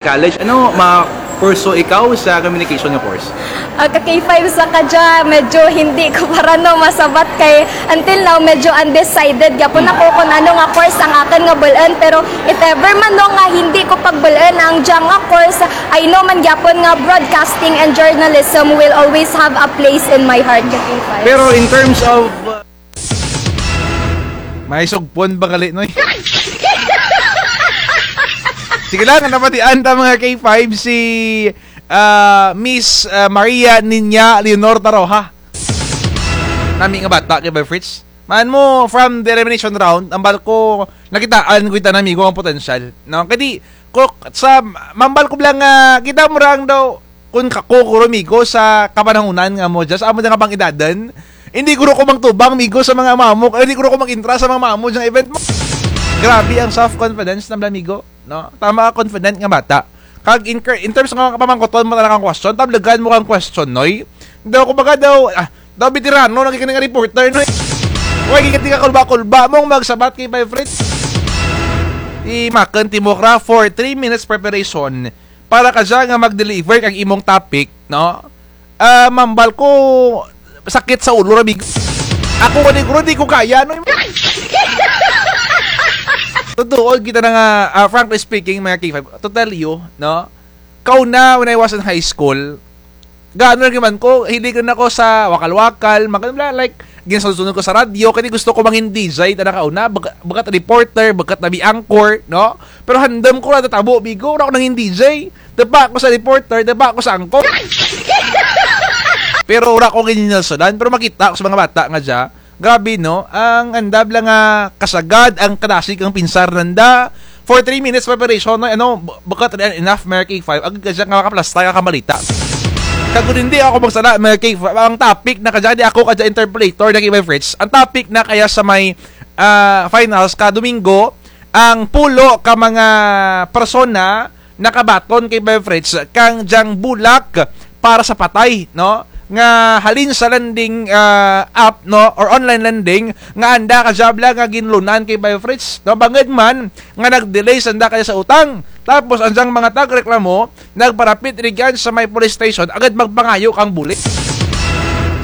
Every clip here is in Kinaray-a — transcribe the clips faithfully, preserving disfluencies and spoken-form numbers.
college. Ano ma-pursue ikaw sa communication nga course? Ah, ka K five sa kadya, medyo hindi ko pa ra, no, masabat kay until now, medyo undecided gyapon ako kung ano nga course ang akun nga bul-un. Pero if ever man, no, nga hindi ko pagbul-un ang dya nga course, I know man gyapon nga broadcasting and journalism will always have a place in my heart, ka K five. Pero in terms of, uh, may sugpon ba gali, Noy? Sige lang, napatian ta mga K five si, ah, Miss, ah, Maria Niña Leonor Taroja. Nami nga bata, K five Fritz. Man mo, from the elimination round, hambal ko, nakitaan ko kita na, amigo, ang potensyal. No? Kadi, ko, sa, mambal ko lang nga, kita mo rang daw, kun kako guro, amigo, sa kapanahunan nga mo, just amo nga pang-edadan. Hindi guro ko magtubang, amigo, sa mga mamo, hindi guro ko mag-intra sa mga mamo dyang event mo. Grabe ang self-confidence na bala, amigo, no? Tama ka, confident nga bata. Kag in, in terms nga pamangkuton mo talaga ang question, tablegan mo kang question, Noy. Daw, kumbaga daw, ah, daw veterano, naging ka nga reporter, Noy. Uy, gikan ti ka kulba-kulba mong magsabat kay Five Fritz. Imakun ti mukra for three minutes preparation. Para kadya nga mag-deliver kang imong topic, no? Ah, mambal ko, sakit sa ulo ra, amigo. Ako gani guro, di ko kaya, no? Totoo, kita na nga, ah, frankly speaking, mga K five, to tell you, no? Kauna, when I was in high school, gaano lang man ko, hilig na ako sa wakal-wakal, mga ganun lang, like, ginsunod-sunod ko sa radyo, kani gusto ko mangin D J, tana kauna, bag-, baga't reporter, baga't nabi anchor, no? Pero handum ko ra tatabo, amigo, wara ko nangin D J. Tapa ko sa reporter, tapa ko sa anchor. Pero wara ko ginhinulsudan, pero makita ko sa mga bata nga dya. Grabe, no? Ang andam lang nga kasagad, ang kadasig, ang pinsar nanda. For three minutes preparation, no? Ano, b-, baga't enough, mga K five. Agad kadya nga makaplastar ka kang balita. Kag kun hindi ako magsala, mga K five, ang topic na kadya, di ako kadya interpolator, na K five Fritz. Ang topic na kaya sa may, ah, finals ka Domingo, ang pulo ka mga persona nakabaton kay Five Fritz kang dyang bulak para sa patay, no? Nga halin sa lending, ah, app, no? Or online lending, nga anda kadya bala nga ginlunan kay Five Fritz, no? Bangud man nga nag-delay sanda kadya sa utang. Tapos, ang dyang mga tagreklamo, nagparapit rugyan sa may police station, agad magpangayo kang bulig.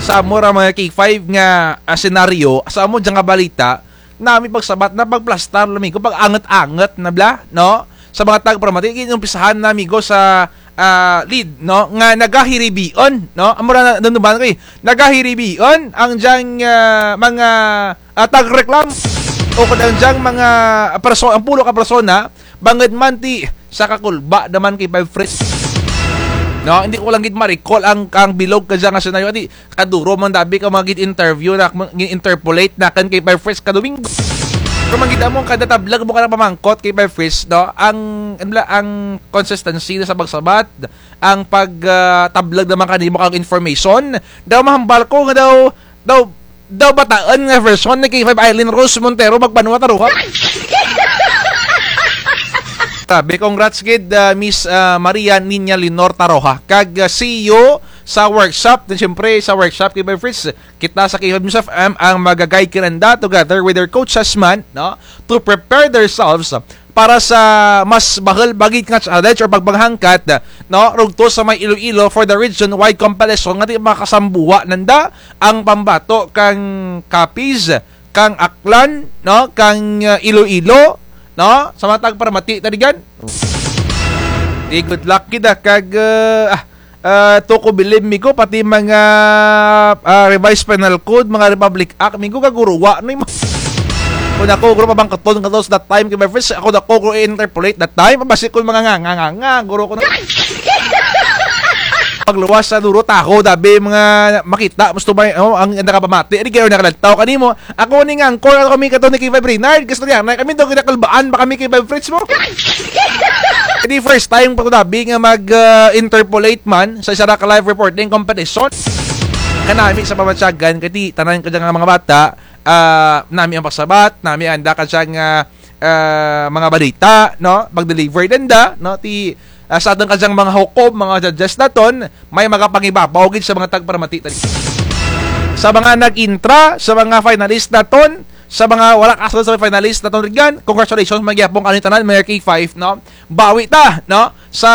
Sa amo ra mga K five nga, ah, senaryo, sa amo dya nga balita, nami pagsabat na pagplastar, amigo, pag-angut-angut na bala, no? Sa mga tagparamati, ginumpisahan na, amigo, sa, ah, lead, no? Nga nagahiribion, no? Amo ra na, nanduman ko, eh. Nagahiribion ang dyang, ah, mga, ah, tagreklam. O kun ang dyang mga perso-, ang pulo ka persona, bangud man ti, sa kakulba naman kay Five Fritz. No, hindi ko lang gid ma-recall ang, ang bilog kadya nga senaryo. Ati, kaduro man dabi ka mga gin-interview na, gin-interpolate nakun kay Five Fritz ka Domingo. Kung man gid amo kada tablag mo ka na pamangkot kay Five Fritz, no? Ang, ano bala, ang consistency na sa pagsabat, ang pag, ah, tablag naman kanimo kang information, daw mahambal ko nga daw, daw, daw bataun nga version ni K five Eileen Rose Montero, magbanwa ta ruha. Sabi, congrats gid, ah, Miss, ah, Maria Niña Lenor Taroja. Kag, ah, see you sa workshop. Then, siyempre, sa workshop, K five Fritz, kita sa K five News F M ang maga-guide kananda together with their coaches man, no? To prepare themselves para sa mas bahul pa gid nga challenge or pagpanghangkat, no? Rugto sa may Iloilo for the region-wide competition nga ti makasambuwa nanda ang pambato kang Capiz, kang Aklan, no? Kang, ah, Iloilo, no? Sa mga tagparamati, tadi gid. Di good luck gid, ah, kag, ah, ah, to ko bilib, amigo, pati mga, ah, revised penal code, mga Republic Act, amigo, kaguruwa, no, imo. Kun ako, guro, pabangkuton kato sa that time, kay Five Fritz, ako, dako, guro, i-interpolate that time, basi kun mga nga, nga, nga, nga, guro ko na. Pagluwas sa duro, taho, dabi, mga makita, gusto ba, oh, ang nakapamati, di kayo nakalantaw, kanimo, ako ni nga anchor, ako kami kato ni K five Reynard, gusto niya, na kami daw kinakalbaan ba kami kay Five Fritz mo? Di first time pa ko dabi nga mag, ah, interpolate man sa isa ra ka live reporting competition. Kanami sa pamatyagan, kay ti tanan kadya nga mga bata, ah, nami ang pagsabat, nami anda kadya nga, ah, mga balita, no? Mag-deliver nanda, no? Ti, ah, sa atun kadyang mga hukom, mga judges naton, may magapangibabaw gid sa mga tagparamati tadi. Sa mga nag-intra, sa mga finalist naton, Sa mga wara kasulod sa finalist natun rugyan, congratulations man gihapon kaninyo tanan, mga K five, no? Bawi ta, no? Sa